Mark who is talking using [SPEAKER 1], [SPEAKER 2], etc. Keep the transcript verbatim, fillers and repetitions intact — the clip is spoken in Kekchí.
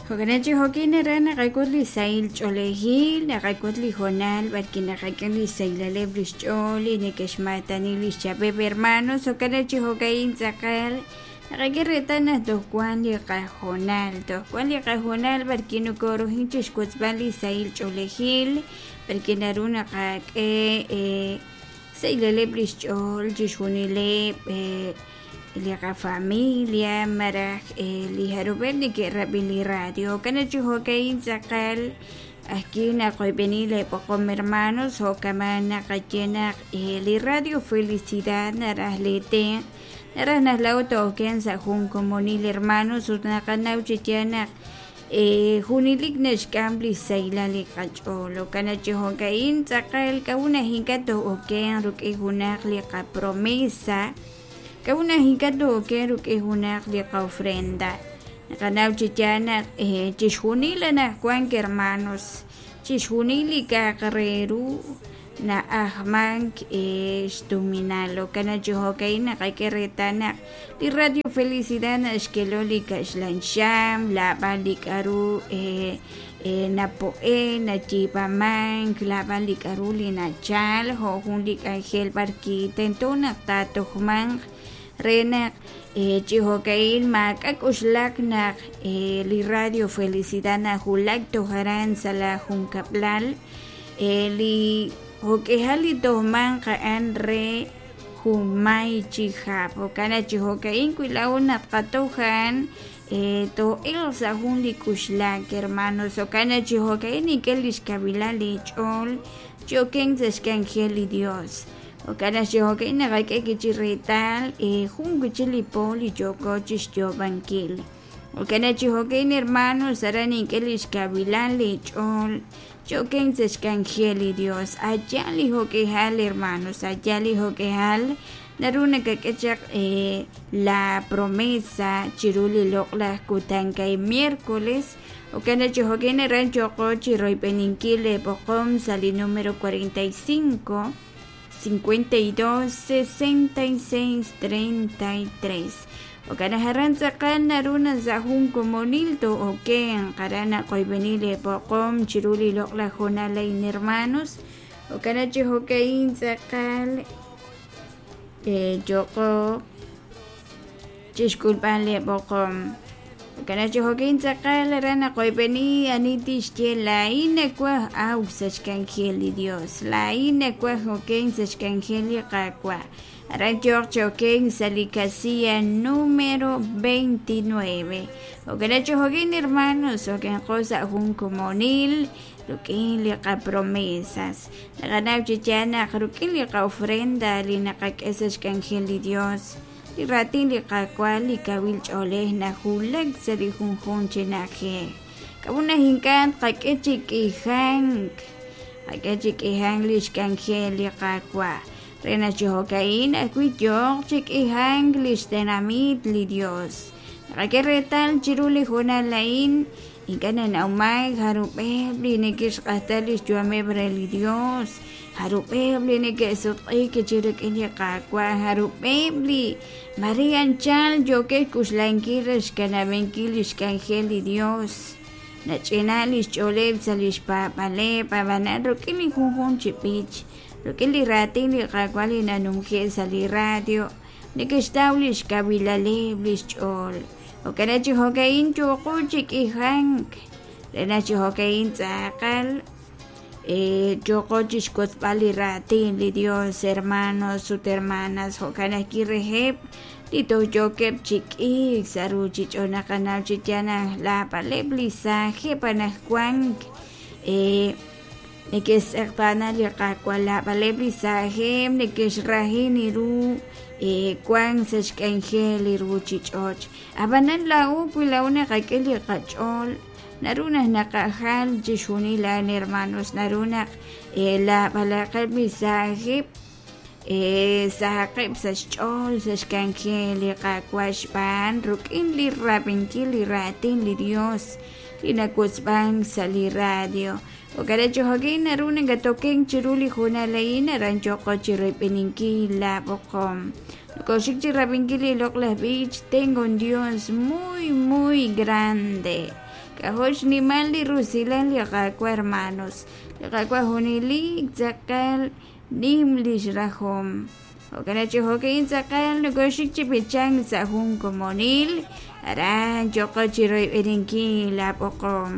[SPEAKER 1] Jo'kan chi jo'kin aran naqak'ut li sahil ch'oolejil, naqak'ut li hoonal b'arwi' naqak'e li sahilaleb' li xch'ool li neke'xmaatani li xchab'eb' hermanos. Jo'kan chi jo'ka'in tz'aqal naqak'e reetal naq toj wan li qahoonal, toj wan li qahoonal b'arwi' nokoorujin chi xwotzb'al li sahil ch'oolejil, b'arwi' naru naqak'e sahilaleb' li xch'ool chixjunileb' li qafamilia malaj li jarub'eb' neke'rab'i li radio. Jo'kan chi jo'ka'in tz'aqal ajki' naqoyb'eni leeb'oqom hermanos, jo'kaman naqaye naq li radio Felicidad naraj leetenq', naraj naq laa'o to'oken sa' jun komonil hermanos ut naqanaw chi yaal naq junelik naxk'am li sahilal li qach'ool. Jo'kan chi jo'ka'in tz'aqal k'a'ut naq ink'a' to'oken rik'in junaq li qapromesa, k'a'ut naq ink'a' to'oken rik'in junaq li qa'ofrenda. Naqanaw chi yaal naq chixjunil anaqwan hermanos, chixjunil li k'a'aq re ru na'ajmank xtuminal. Jo'kan chi jo'ka'in naqak'e reetal naq li radio Felicidad naxkelo li kaxlan xam, lab'al li k'a'ru napo'e, nayiib'amank, lab'al li k'a'ru li nachal, jo' jun li k'anjel b'arwi' tento naq taatojmanq re naq chi jo'ka'in maak'a' k'uxlak naq li radio Felicidad najulak toj aran sa' la junkab'lal li jo'k'ihal li tojmanq a'an re junmay chi hab'. Jo'kan chi jo'ka'in wi laa'o naq qatoj a'an to'elq sa' jun li k'uxlak hermanos. Jo'kan chi jo'ka'in nink'e li xkawilan li ch'ool choken sa' xk'anjel li Dios. Jo'kan chi jo'ka'in naqak'e kichi reetal jun wichi li po li yooko chixyoob'ankil. Jo'kan chi jo'ka'in hermanos aran nink'e li xkawilan li ch'ool choken sa' xk'anjel li Dios. Allá li jo'k'ihal hermanos, allá li jo'k'ihal naru nakak'e chaq la promesa chiru li loq'laj kutan kay miércoles. Jo'kan chi jo'ka'in aran yooko chi royb'eninkil leeb'oqom sa' li número cuarenta y cinco, cincuenta y dos, sesenta y seis, treinta y tres. Jo'kan aran tz'aqal naru sa' jun komonil to'oken aran naqoyb'eni leeb'oqom chiru li loq'laj hoonal a'in hermanos. Jo'kan chi jo'ka'in tz'aqal yooko chixk'ulb'al leeb'oqom. Jo'kan chi jo'ka'in tz'aqal aran naqoyb'eni ani tixye laa'in nawaj awk sa' xk'anjel li Dios, laa'in nawaj oken sa' xk'anjel li Qaawa'. Aran yook choken sa' li casilla número veintinueve. Jo'kan chi jo'ka'in hermanos, okenqo sa' jun komonil rik'in li qapromesas. Naqanaw chi yaal naq rik'in li qa'ofrenda li naqak'e sa' xk'anjel li Dios, li raatin li Qaawa' li kawil ch'oolej najulak sa' li junjun chi na'ajej. K'a'ut naq ink'a' tqak'e chi k'ijank, qak'e chi k'ijank li xk'anjel li Qaawa'. Re naq chi jo'ka'in ajwi' yooq chi k'ijank li xtenamit li Dios. Naqak'e reetal chiru li hoonal a'in ink'a' nanawmank jarub'eb' li neke'xq'ajta li xyu'ameb' re li Dios, jarub'eb' li neke'sutq'iik chi rik'in li Qaawa', jarub'eb' li Maria anchal yookeb' xk'uxlankil re xkanab'ankil li xk'anjel li Dios. Nach'ina li xch'ooleb' sa' li xpaab'aleb', ab'anan rik'in li junjun chi b'ich, rik'in li raatin li Qaawa' li nanumje' sa' li radio, neke'xtaw li xkawilaleb' li xch'ool. Jo'kan chi jo'ka'in yooqo chi k'ijank, re naq chi jo'ka'in tz'aqal yooqo chi xwotzb'al li raatin li Dios, hermanos ut hermanas. Jo'kan ajwi' reheb' li toj yookeb' chi k'iik sa' ruuchich'och' naqanaw chi yaal naq laab'aleb' li saajeb' anaqwan neke'xtz'eqtaana li Qaawa', laab'aleb' li saajeb' neke'xrahin ru wan sa' xk'anjel li ruuchich'och'. Ab'anan laa'o wi laa'o naqak'e li qach'ool naru naq naqajal chixjunil a'an hermanos, naru naq laab'alaqeb' li saajeb' sahaqeb' sa' xch'ool sa' xk'anjel li Qaawa' xb'aan rik'in li rab'inkil li raatin li Dios li nawotzb'ank sa' li radio. Jo'kan chi jo'kin naru nakatoken chiru li hoonal a'in aran yooko chi royb'eninkil laab'oqom. Nokoxik chi rab'inkil li loq'laj b'ich Tengo un Dios muy muy grande. K'ajo' xnimal li rusilal li Qaawa', hermanos. Li Qaawa' junelik tz'aqal nim lix rajom. Jo'kan chi jo'kan tz'aqal nokoxik chi b'ichank sa' jun komonil aran yoqo chi royb'eninkil la b'oqom.